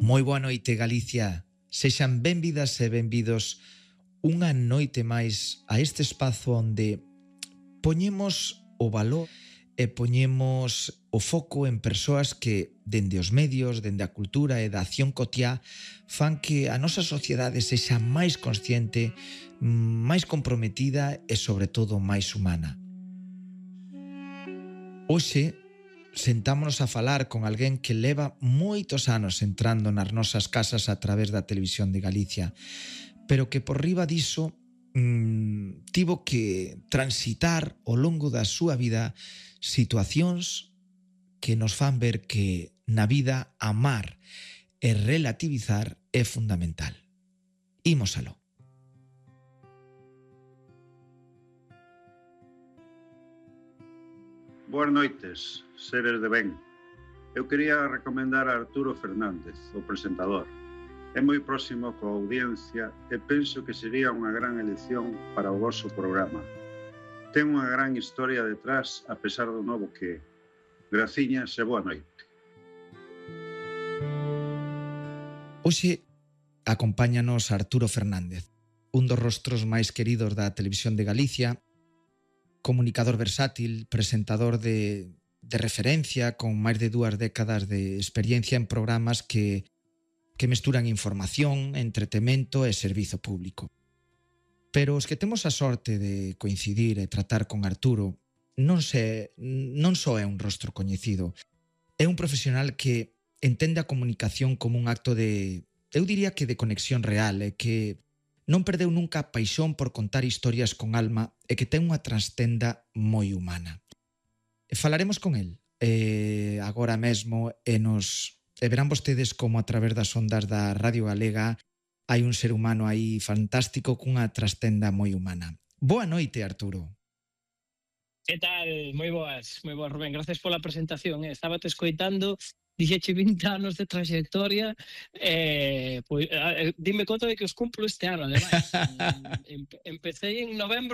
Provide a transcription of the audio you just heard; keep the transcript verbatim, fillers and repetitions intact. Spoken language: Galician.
Moi boa noite, Galicia. Sexan benvidas e benvidos unha noite máis a este espazo onde poñemos o valor e poñemos o foco en persoas que, dende os medios, dende a cultura e da acción cotiá, fan que a nosa sociedade sexa máis consciente, máis comprometida e, sobre todo, máis humana. Hoxe, sentámonos a falar con alguén que leva moitos anos entrando nas nosas casas a través da televisión de Galicia, pero que por riba diso mmm, tivo que transitar ao longo da súa vida situacións que nos fan ver que na vida amar e relativizar é fundamental. Imos aló. Boas noites, seres de ben. Eu quería recomendar a Arturo Fernández, o presentador. É moi próximo coa audiencia e penso que sería unha gran elección para o vosso programa. Ten unha gran historia detrás, a pesar do novo que é. Graciñas e boa noite. Hoxe acompáñanos Arturo Fernández, un dos rostros máis queridos da televisión de Galicia, comunicador versátil, presentador de, de referencia con máis de dúas décadas de experiencia en programas que, que mesturan información, entretemento e servizo público. Pero os que temos a sorte de coincidir e tratar con Arturo non, se, non só é un rostro coñecido, é un profesional que entende a comunicación como un acto de, eu diría que de conexión real, e que non perdeu nunca a paixón por contar historias con alma e que ten unha trastenda moi humana. E falaremos con el eh, agora mesmo e nos e verán vostedes como a través das ondas da Radio Galega hai un ser humano aí fantástico cunha trastenda moi humana. Boa noite, Arturo. Que tal? Moi boas, moi boas, Rubén. Gracias pola presentación. Eh. Estaba te escoitando, dixeche vinte anos de trayectoria, eh, pois, eh, dime conta de que os cumplo este ano, ademais. em, empecé en novembro